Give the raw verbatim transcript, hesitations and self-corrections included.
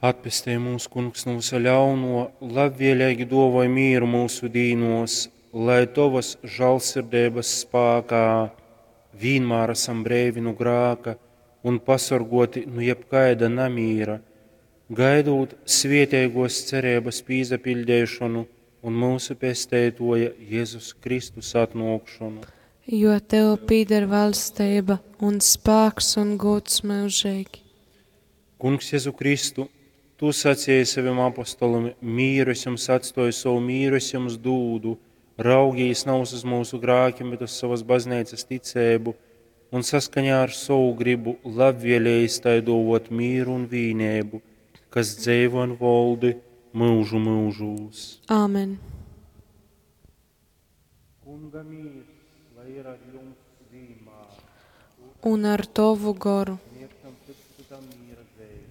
Atpestej mūs, Kungs, nu vysa ļaunuo, labvieleigi duovoj mīru myusu dīnuos, lai Tovys žālsirdeibys spākā vīnmār asam breivi nu grāka un pasorguoti nu jebkaida namīra, gaidūt svieteiguos cereibys pīsapiļdeišonu un myusu Pesteituoja Jezus Kristus atnuokšonu. Jo Tev pīder valsteiba un spāks un gūds myužeigi. Kungs Jezu Kristu, Tu sacēji savim apostolim: Mīru es jums atstoju, sovu mīru es jums dūdu. Raugīs navys uz mūsu grākim, bet uz sovas bazneicas ticeibu, un saskaņā ar sovu gribu labvēlējis tai dōvōt mīru un vīneibu, kas dzeivo un voldi myužu myužūs. Āmen. Kunga mīrs, lai ir ar jums vīnmār. Un ar Tovu goru. Sniegšam cits cytam mīra zeimi.